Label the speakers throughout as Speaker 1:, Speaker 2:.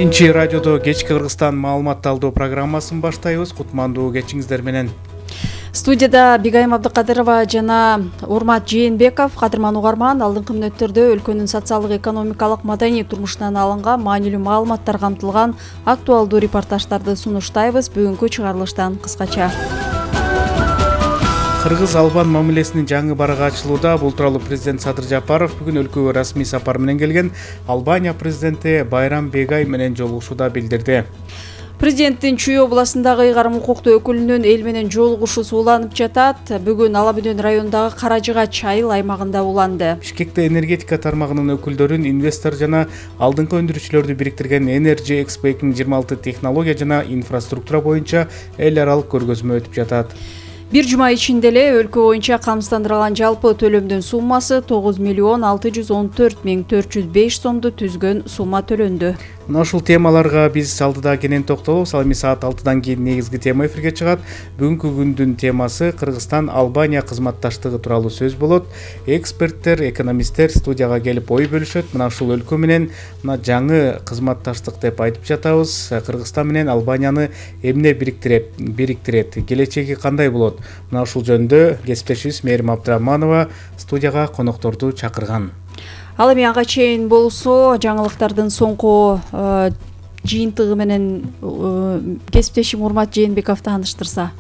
Speaker 1: Биринчи радиодо кечки Кыргызстан маалымат алуу программасын баштайбыз. Кутмандуу кечиңиздер менен.
Speaker 2: Студияда Бигайым Абдыкадырова жана Урмат Жээнбеков. Кадырман угарман, алдыңкы мүнөттөрдө өлкөнүн социалдык, экономикалык, маданий турмушунан алынган маанилүү маалыматтар камтылган актуалдуу репортаждарды сунуштайбыз. Бүгүнкү чыгарылыштан кыскача.
Speaker 1: Кыргыз-албан мамилесинин жаңы барагы ачылууда. Бул тууралуу президент Садыр Жапаров бүгүн өлкөгө расмий сапар менен келген. Албания президенти Байрам Бегай менен жолугушууда билдирди.
Speaker 2: Президенттин Чүй областындагы ыйгарым укуктуу өкүлүнүн эл менен жолугушу сууланып жатат. Бүгүн Ала Бөдөн районундагы Каражыгач айыл аймагында уланды.
Speaker 1: Бишкекте энергетика тармагынын өкүлдөрүн, инвестор жана алдыңкы өндүрүүчүлөрдү бириктирген Energy Expo 2026 технология жана инфраструктура боюнча эл аралык көргөзмө өтүп жатат.
Speaker 2: Бир жума ичинде эле өлкө боюнча камсыздандырылган жалпы төлөмдүн суммасы 9.614.405 сомду түзгөн сумма төлөндү.
Speaker 1: Мына ушул темаларга биз алдыда кенен токтолобуз. Ал эми саат 6-дан кийин негизги тема эфирге чыгат. Бүгүнкү күндүн темасы Кыргызстан-Албания кызматташтыгы тууралуу сөз болот. Эксперттер, экономисттер студияга келип ой бөлүшөт. Мына ушул өлкө менен мына жаңы кызматташтык деп айтып жатабыз. Кыргызстан менен Албанияны эмне бириктирет? Келечеги кандай болот? Мына ушул жөнүндө кесиптешибиз Мээрим Абдрахманова студияга конокторду чакырган.
Speaker 2: Ал эми ага чейин болсо жаңылыктардын соңку жыйынтыгы менен кесиптешим Урмат Жээнбеков тааныштырса.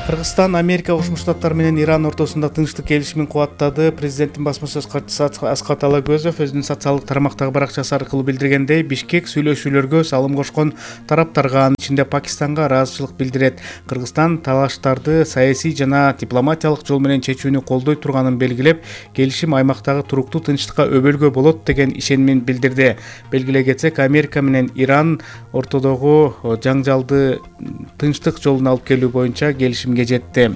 Speaker 1: Кыргызстан Америка Кошмо Штаттары менен Иран ортосунда тынчтык келишимин кубаттады. Президенттин басма сөз катчысы Аскат Алагөзов өзүнүн социалдык тармактагы баракчасы аркылуу билдиргендей, Бишкек сүйлөшүүлөргө салым кошкон тараптарга, анын ичинде Пакистанга ыраазычылык билдирет. Кыргызстан талаштарды саясий жана дипломатиялык жол менен чечүүнү колдой турганын белгилеп, келишим аймактагы туруктуу тынчтыкка өбөлгө болот деген ишенимин билдирди. Белгилей кетсек, Америка менен Иран ортодогу жаңжалды тынчтык жолуна алып келүү боюнча келишимге жетти.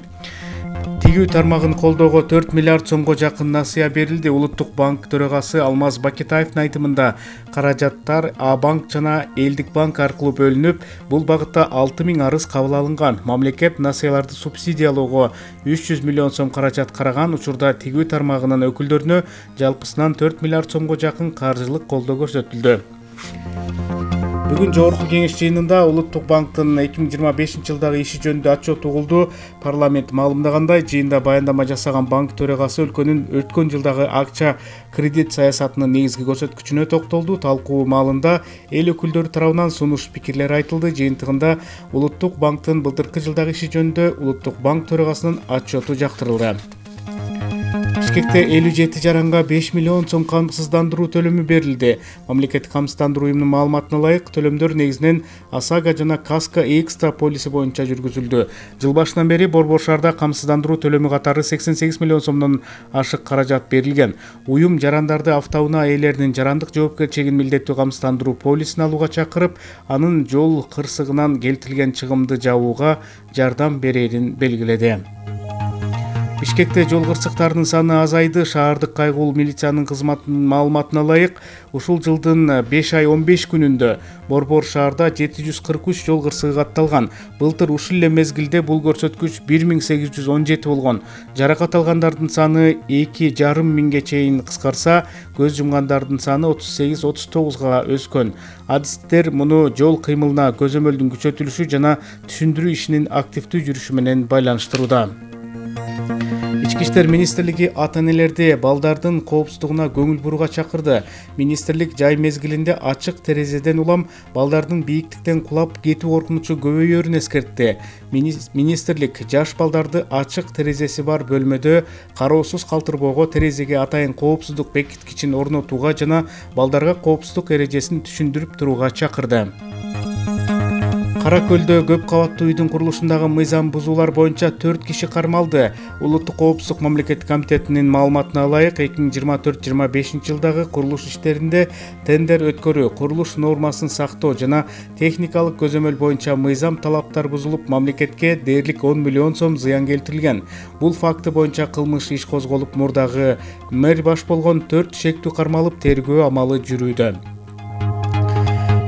Speaker 1: Тигүү тармагын колдоого 4 миллиард сомго жакын насыя берилди. Улуттук банк төрагасы Алмаз Бакетаевдин айтымында, каражаттар А-банк жана Элдик банк аркылуу бөлүнүп, бул багытта 6000 арыз кабыл алынган. Мамлекет насыяларды субсидиялоого 300 миллион сом каражат караган. Учурда тигүү тармагынын өкүлдөрүнө жалпысынан 4 миллиард сомго жакын каржылык колдоо көрсөтүлдү. Бүгүн Жогорку Кеңеш жыйынында Улуттук банктын 2025 жылдагы иши жөнүндө отчет угулду. Парламент маалымдагандай, жыйында баяндама жасаган банк төрагасы өлкөнүн өткөн жылдагы акча кредит саясатынын негизги көрсөткүчүнө токтолду. Талкуу маалында эл өкүлдөрү тарабынан сунуш пикирлер айтылды. Жыйынтыгында Улуттук банктын былтыркы жылдагы иши жөнүндө Улуттук банк төрагасынын отчету жактырылды. Бишкекте 57 жаранга 5 миллион сом камсыздандыруу төлөмү берилди. Мамлекеттик камсыздандыруу уюмунун маалыматына ылайык, төлөмдөр негизинен ОСАГО жана Каска Экстра полиси боюнча жүргүзүлдү. Жыл башынан бери Борбор шаарда камсыздандыруу төлөмү катары 88 миллион сомдон ашык каражат берилген. Уюм жарандарды автоунаа ээлеринин жарандык жоопкерчилигин милдеттүү камсыздандыруу полисин алууга чакырып, анын жол кырсыгынан келтирилген чыгымды жабууга жардам берерин белгиледи. Бишкекте жол кырсыктарынын саны азайды. Шаардык кайгылуу милициянын кызматынын маалыматына ылайык, ушул жылдын 5 ай 15 күнүндө Борбор шаарда 743 жол кырсыгы катталган. Былтыр ушул эле мезгилде бул көрсөткүч 1817 болгон. Жаракат алгандардын саны 2,5 миңге чейин кыскарса, көз жумгандардын саны 38-39га өскөн. Адистер муну жол кыймылына көзөмөлдүн күчөтүлүшү жана түшүндүрүү ишинин активдүү жүрүшү менен байланыштырууда. Ички иштер министрлиги ата-энелерди балдардын коопсуздугуна көңүл бурууга чакырды. Министрлик жай мезгилинде ачык терезеден улам балдардын бийиктиктен кулап кетүү коркунучу көбөйөрүн эскертти. Министрлик жаш балдарды ачык терезеси бар бөлмөдө кароосуз калтырбоого, терезеге атайын коопсуздук бекиткичин орнотууга жана балдарга коопсуздук эрежесин түшүндүрүп турууга чакырды. Кара Көлдө көп кабаттуу үйдүн курулушундагы мыйзам бузуулар боюнча 4 киши кармалды. Улуттук коопсуздук мамлекеттик комитетинин маалыматына ылайык, 2024-25 жылдагы курулуш иштеринде тендер өткөрүү, курулуш нормасын сактоо жана техникалык көзөмөл боюнча мыйзам талаптар бузулуп, мамлекетке дээрлик 10 миллион сом зыян келтирилген. Бул факты боюнча кылмыш иш козголуп, мурдагы мэр баш болгон 4 шектүү кармалып, тергөө амалы жүрүүдө.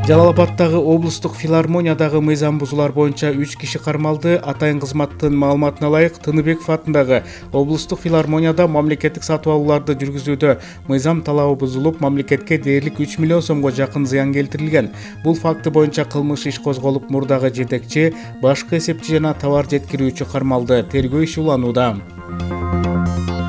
Speaker 1: Жалал Абадтагы облустук филармониядагы мыйзам бузуулар боюнча 3 киши кармалды. Атайын кызматтын маалыматына ылайык, Тыныбеков атындагы облустук филармонияда мамлекеттик сатып алууларды жүргүзүүдө мыйзам талабы бузулуп, мамлекетке дээрлик 3 миллион сомго жакын зыян келтирилген. Бул факты боюнча кылмыш иш козголуп, мурдагы жетекчи, башкы эсепчи жана товар жеткирүүчү кармалды. Тергөө иши уланууда.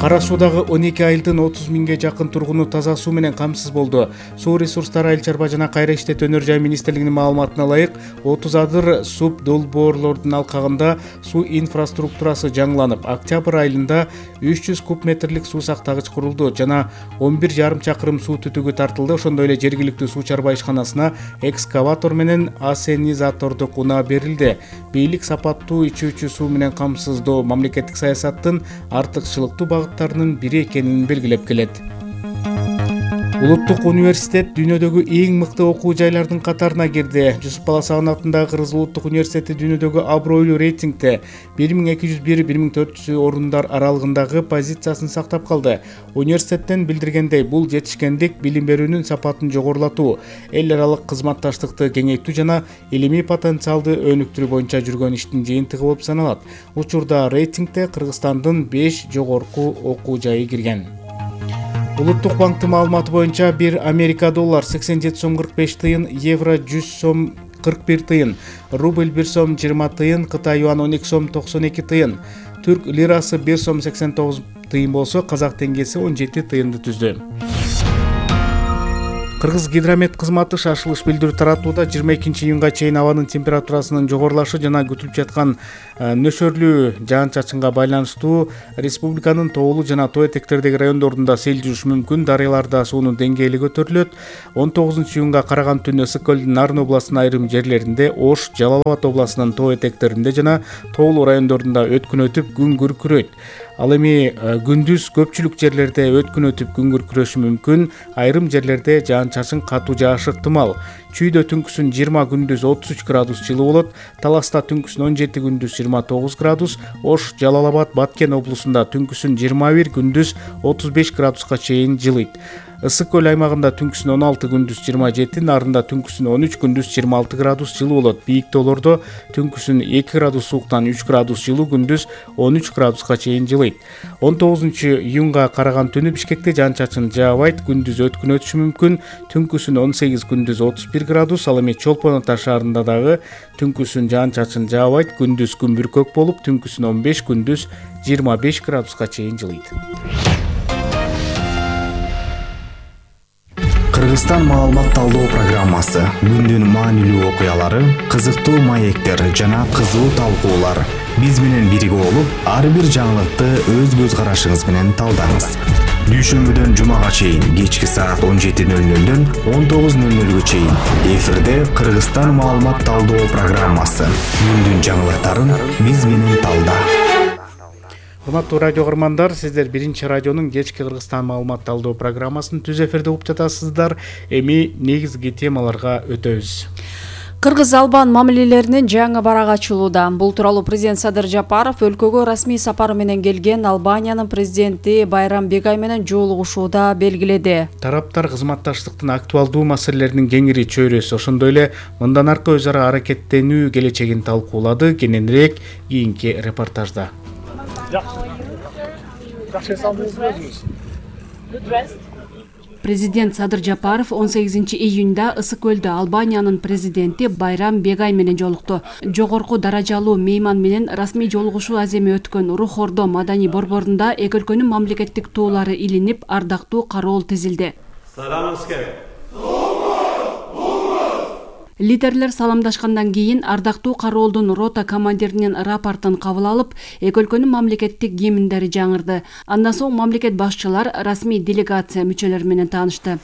Speaker 1: Кара Суудагы 12 айылдын 30 миңге жакын тургуну таза суу менен камсыз болду. Суу ресурстары, айыл чарба жана кайра иштетүү өнөр жай министрлигинин маалыматына ылайык, 30 адыр суб долбоорлордун алкагында суу инфраструктурасы жаңыланып, октябрь айында 300 куб метрлик суу сактагыч курулду жана 11,5 чакырым суу түтүгү тартылды. Ошондой эле жергиликтүү суу чарба ишканасына экскаватор менен ассенизатордук унаа берилди. Бийлик сапаттуу ичүүчү суу менен камсыздоо мамлекеттик саясаттын артыкчылыктуу багыттарынын бири экенин белгилеп келет. Улуттук университет дүйнөдөгү эң мыкты окуу жайлардын катарына кирди. Жусуп Баласагын атындагы Кыргыз улуттук университети дүйнөдөгү абройлуу рейтингде 1201-1400 орундар аралыгындагы позициясын сактап калды. Университеттен билдиргендей, бул жетишкендик билим берүүнүн сапатын жогорулатуу, эл аралык кызматташтыкты кеңейтүү жана илимий потенциалды өнүктүрүү боюнча жүргөн иштин жыйынтыгы болуп саналат. Учурда рейтингде Кыргызстандын 5 жогорку окуу жайы кирген. Улуттук банктын маалыматы боюнча 1 Америка доллар 87 сом 45 тыйын, евро 100 сом 41 тыйын, рубль 1 сом 20 тыйын, Кытай юан 12 сом 92 тыйын, түрк лирасы 1 сом 89 тыйын болсо, казак теңгеси 17 тыйынды түздү. Кыргыз гидромет кызматы шашылыш билдирүү таратууда 22 июнга чейин абанын температурасынын жогорулашы жана күтүлүп жаткан нөшөрлүү жаан-чачынга байланыштуу республиканын тоолуу жана тоо этектердеги райондорунда сел жүрүшү мүмкүн. Дарыяларда суунун деңгээли көтөрүлөт. 19 июнга караган түнү Ысык көлдүн Нарын областынын айрым жерлеринде, Ош, Жалал Абад областынын тоо этектеринде жана тоолуу райондорунда өткүн өтүп, күн күркүрөйт. Ал эми күндүз көпчүлүк жерлерде өткүн өтүп, күн күркүрөшү мүмкүн. Айрым жерлерде жаан-чачын катуу жаашы ыктымал. Чүйдө түнкүсүн 20, күндүз 33 градус жылуу болот. Таласта түнкүсүн 17, күндүз 29 градус. Ош, Жалал Абад, Баткен облусунда түнкүсүн 21, күндүз 35 градуска чейин жылыйт. Ысык көл аймагында түнкүсүн 16, күндүз 27, Нарында түнкүсүн 13, күндүз 26 градус жылуу болот. Бийик тоолордо түнкүсүн 2 градус сууктан 3 градус жылуу, күндүз 13 градуска чейин жылыйт. 19 июнга караган түнү Бишкекте жаан-чачын жаабайт, күндүз өткүн өтүшү мүмкүн. Түнкүсүн 18, күндүз 31 градус. Ал эми Чолпон Ата шаарында дагы түнкүсүн жаан-чачын жаабайт, күндүз күн бүркөк болуп, түнкүсүн 15, күндүз 25 градуска чейин жылыйт.
Speaker 3: Кыргызстан маалымат талдоо программасы, күндүн маанилүү окуялары, кызыктуу маектер жана кызуу талкуулар. Биз менен бирге болуп, ар бир жаңылыкты өз көз карашыңыз менен талдаңыз. Дүйшөмбүдөн жумага чейин кечки саат 17:00-дөн 19:00-гө чейин эфирде Кыргызстан маалымат талдоо программасы. Күндүн жаңылыктарын биз менен талда.
Speaker 1: Урматтуу радио көрөрмандар, сиздер биринчи радионун кечки Кыргызстан маалымат талдоо программасын түз эфирде угуп жатасыздар. Эми негизги темаларга өтөбүз.
Speaker 2: Кыргыз-Албан мамилелеринин жаңы барак ачылууда. Бул тууралуу президент Садыр Жапаров өлкөгө расмий сапары менен келген Албаниянын президенти Байрам Бегай менен жолугушууда белгиледи.
Speaker 1: Тараптар кызматташтыктын актуалдуу маселелеринин кеңири чөйрөсү, ошондой эле мындан аркы өз ара аракеттенүү келечегин талкуулады. Кененирээк кийинки репортажда.
Speaker 4: Президент Садыр Жапаров 18 июнда Ысык көлдө Албаниянын президенти Байрам Бегай менен жолукту. Жогорку даражалуу мейман менен расмий жолугушуу аземи өткөн Рух Ордо маданий борборунда эки өлкөнүн мамлекеттик туулары илинип, ардактуу кароол тизилди. Лидерлер саламдашкандан кийин ардактуу кароолдун рота командиринин рапортун кабыл алып, эки өлкөнүн мамлекеттик гимндери жаңырды. Андан соң мамлекет башчылар расмий делегация мүчөлөрү менен таанышты.